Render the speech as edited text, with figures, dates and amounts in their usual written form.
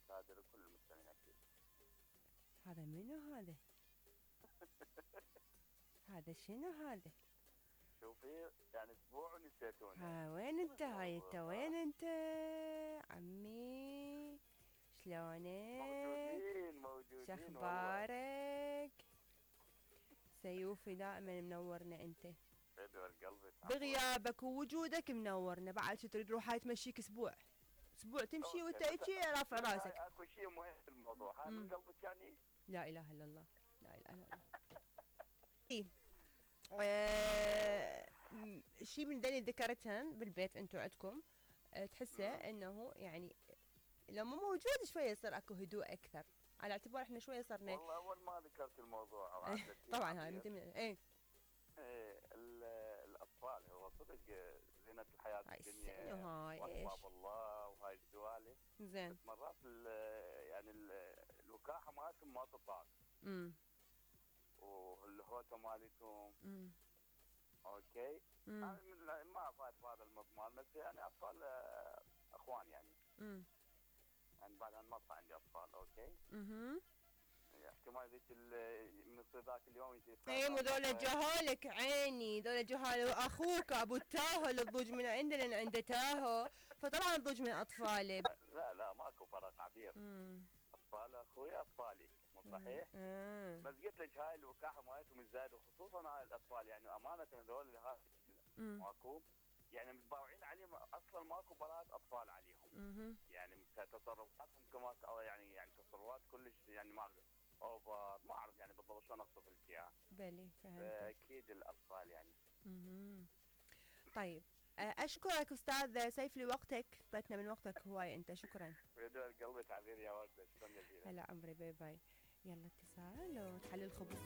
كادر وكل المستمعين اكيد. هذا منو هذا؟ هذا شنو هذا؟ شوفي يعني اسبوع ونسيتوني. ها وين انت هاي انت وين انت عمي؟ شلونك؟ موجودين شخبارك؟ سيوفي دائما منورنا انت. يدور قلبي. بغيابك ووجودك منورنا. بعد شو تريد روح هاي تمشيك اسبوع تمشي وانت هيجي رافع راسك. اكو شيء مهم في الموضوع. هاي من قلبك يعني. لا اله الا الله. لا اله الا الله. شيء من ذي ذكرتهن بالبيت انتو عندكم تحسه انه يعني لما موجود شويه يصير اكو هدوء اكثر على اعتبار احنا شويه صرنا. والله اول ما ذكرت الموضوع طبعا هاي من ضمن ايه الاطفال هو صدق زينة الحياة الدنيا واسباب الله وهاي السوالف. زين. مرات يعني الوكاحة مالتهم ما تطاق. والهوته مالتهم. اوكي. انا ما افاد في هذا المضمون بس يعني اطفال اخوان يعني. يعني بعد ما صار عندي اطفال اوكي. احتمال ذيك من ذاك اليوم يجي. اي مو ذولا جهالك عيني ذولا جهال واخوك ابو التاهو اللي تضوج من عندنا لان عنده تاهو فطبعا تضوج من اطفالي. لا ماكو فرق عبير. اطفال اخوي اطفالي مو صحيح؟ بس قلت لك هاي الوكاحه مالتهم الزايد وخصوصا هاي الاطفال يعني امانه هذول هاي ماكو يعني متباوعين عليهم اصلا ماكو براءة اطفال عليهم. يعني تصرفاتهم كما يعني تصرفات كلش يعني ما اوفر ما اعرف يعني بالضبط شلون اوصف لك اياها. بلي فهمت. اكيد الاطفال يعني. طيب اشكرك استاذ سيف لوقتك اعطيتنا من وقتك هواي انت شكرا. بدون قلبي تعبير يا ورده شكرا جزيلا. هلا عمري باي باي. يلا اتصال وتحلل الخبز.